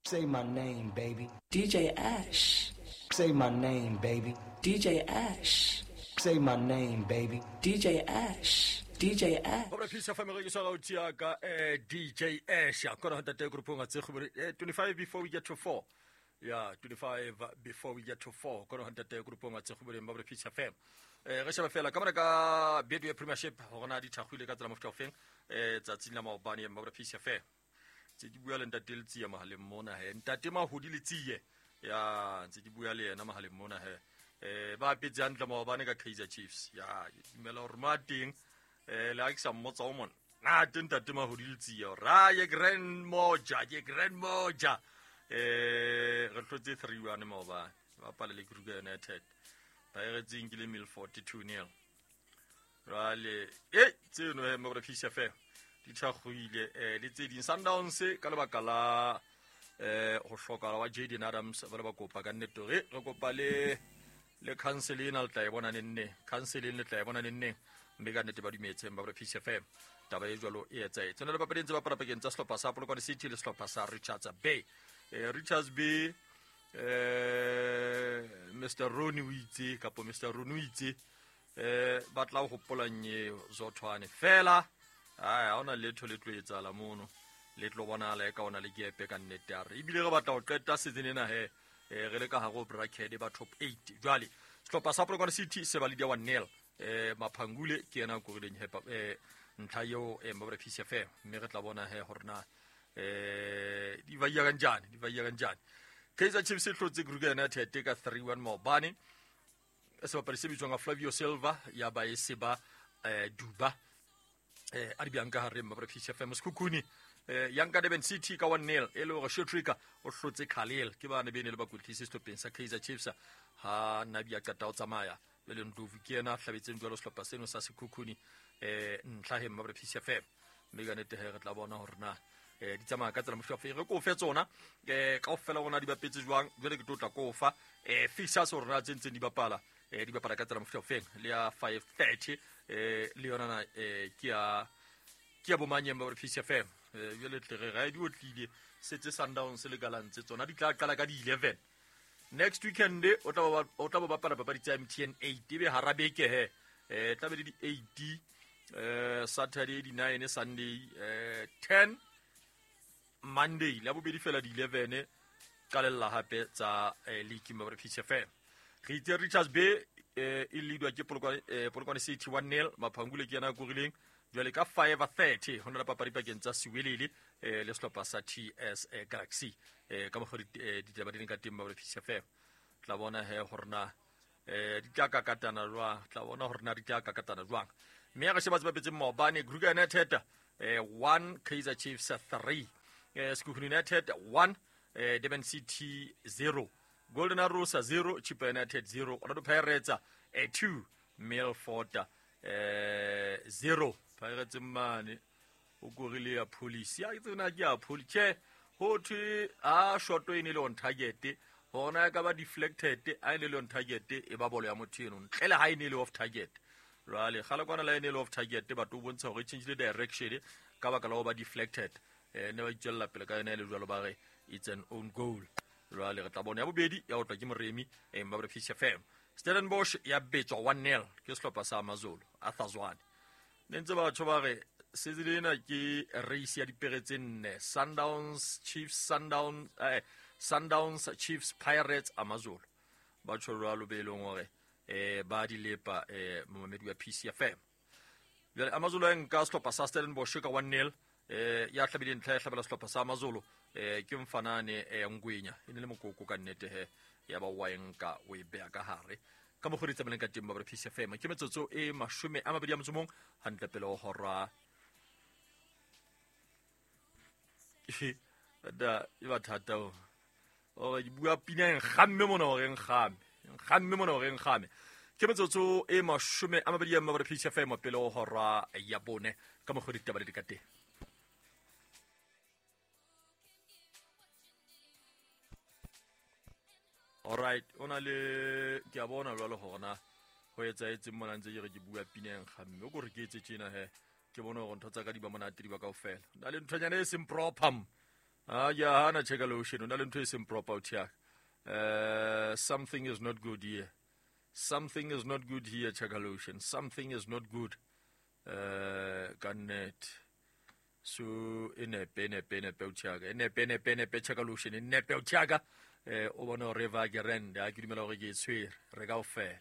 Say my name, baby. DJ Ash. Say my name, baby. DJ Ash. Say my name, baby. DJ Ash. DJ Ash. Gore Peace FM re ke swara o tšea ka DJ Ash a kona tate groupong a tse go 25 before we get to 4. Yeah, 25 before we get to 4. Kona tate groupong a tse go ba gore Peace FM. Re sheba fela ka mona ka Betway Premiership gore na di thagwile ka tsela mofuta ofeng tsatsing la maobane ba gore Peace FM. Tse ke bua le ntate Letsie mahaleng mona he. Ntate Mahodi Letsie. Ya, ntse ke bua le yena mahaleng mona he. Ba apetse hantle maobane ka Kaizer Chiefs. Ya, ke dumela hore mo a teng le ha ke sa mmotsa o mona. Na teng ntate Mahodi Letsie hore a ye Grand Moja, ye Grand Moja. Re hlotse 3-1 maobane. Ba bapala le Kruger United. Pirates e nkile Milford 2-0. Jwale tseno he mo re Peace FM di thakgoile le tse ding Sundowns ka lebaka la ho hlokahala wa Jaden Adams ba le ba kopa ka nnete hore re kopa le council ena le tla e bona neng neng, council ena le tla e bona neng neng, mme ka nnete ba dumetseng ba re Peace FM taba e jwalo e etsahetse. Tsena le papadi ntse bapala pakeng tsa sehlopha sa Polokwane City le sehlopha sa Richards Bay. Richards Bay Mr Ronnie o itse kapo Mr Ronnie o itse ba tla ho hopola nyeo Zothwane fela. Ai, ha hona letho le tlo etsahala mono, le tlo bonahala e ka ona le kepe ka nnete a re. Ebile re batla ho qeta season ena he, re le ka hare ho bracket ba top 8. Jwale sehlopha sa Polokwane City se ba leader 1-0. Maphangule ke yena a korileng he ntlha eo Mabra Peace FM, mme re tla bona he hore na di ba ya kanjani, di ba ya kanjani. Kaizer Chiefs e hlotse Kruger United ka 3-1 maobane. Sebapadi se bitswang ka Flavio Silva ya ba e se ba Duba a di bjang ka hare Mabra Peace FM. Sekhukhune ya nka Durban City ka 1-0 e le hore Shetrika o hlotse Khalil ke bane bene le bakwetlisi sehlopheng sa Kaizer Chiefs ha Nabi a qeta ho tsamaya. Jwale Ndlovu ke yena a hlabetseng jwalo sehlopha seno sa Sekhukhune ntlha he Mabra Peace FM. Mme ka nnete he re tla bona hore na di tsamaya ka tsela mofuta ofe. Re ko fe tsona kaofela rona di bapetse jwang. Jwale ke tlo tla ko fa fixtures hore na tse ntseng di bapala di bapala ka tsela mofuta ofeng. Le ya 5:30 le yona na ke ya bomanyeng ba Peace FM. Jwale tle re ra di otlile setse Sundowns le Gallants tsona di tla qala ka di 11 next weekend. O tla ba bapala papadi tsa MTN 8 ebe hara beke he tla be le di 8 Saturday di 9 Sunday 10 Monday la bobedi fela di 11 qalella hape tsa league mo Peace FM. Re itse Richards Bay e leadwa ke Polokwane City 1-0. Maphangule ke yena a korileng. Jwale ka 5:30 ho na le papadi pakeng tsa Siwelele le sehlopha sa TS Galaxy. Ka mokgwa ditaba di leng ka teng mo Peace FM. Tla bona he hore na di tla kakatana jwang, tla bona hore na di tla kakatana jwang. Mme re sheba tse bapetseng maobane. Kruger United 1 Kaizer Chiefs 3, Sekhukhune United 1 Durban City 0, Golden Arrows 0, Chippa United 0, Orlando Pirates 2, Milford 0. Pirates mane o korile ya police. Ya tsena ke ya police. Tjhe, ho thwe a shot e ne le on target. Hona e ka ba deflected, a e ne le on target e ba bolo ya motho eno. Ntle le ha e ne le off target. Jwale kgale kwana la e ne le off target batho o bontsha hore e change le direction ka baka la ho ba deflected. Ne ba itswella pele ka yona e le jwalo ba re it's an own goal. Jwale re tla bona ya bobedi ya otlwa ke Moremi Mabra Peace FM. Stellenbosch ya betswa 1-0 ke sehlopha sa Amazulu Arthur Zwane. Ne ntse batho ba re season ena ke race ya dipere tse nne, Sundowns Chiefs, Sundowns Chiefs, Pirates, Amazulu. Ba tjho jwalo be leng hore ba di lepa momamedi wa Peace FM. Jwale Amazulu a nka sehlopha sa Stellenbosch ka 1-0. Ya hlabile ntlha ya hlabela sehlopha sa Amazulu ke mfanane Ngwenya e ne le mokoko ka nnete he ya ba wa nka o e beha ka hare. Ka mokgwa di tsamaileng ka teng ba Peace FM. Ke metsotso e 21 hantle pele ho hora. Da e ba thata o. Ore ke bua pina e nkgamme mona hore nkgame. Nkgamme mona hore nkgame. Ke metsotso e 20 ba Peace FM pele ho hora ya bone. Ka mokgwa ditaba di ka teng. All right, ona le ke a bona jwalo hore na ho etsahetseng mona ntse ke re ke bua pina e nkgamme. O ko re ke etse tjena he, ke bone hore ntho tsa ka di ba monate di ba kaofela. Na le nthonyana e seng proper. A ya hana check lotion, o na le ntho e seng proper o thiaka. Something is not good here. Something is not good here, Chakalotion. Something is not good. Ka nnete. So e nepe, e nepe, e nepe o thiaka. E nepe, e nepe, e nepe Chakalotion. E nepe o thiaka. O bone hore va ke rende. Ha ke dumela hore ke e tshwere. Re kaofela.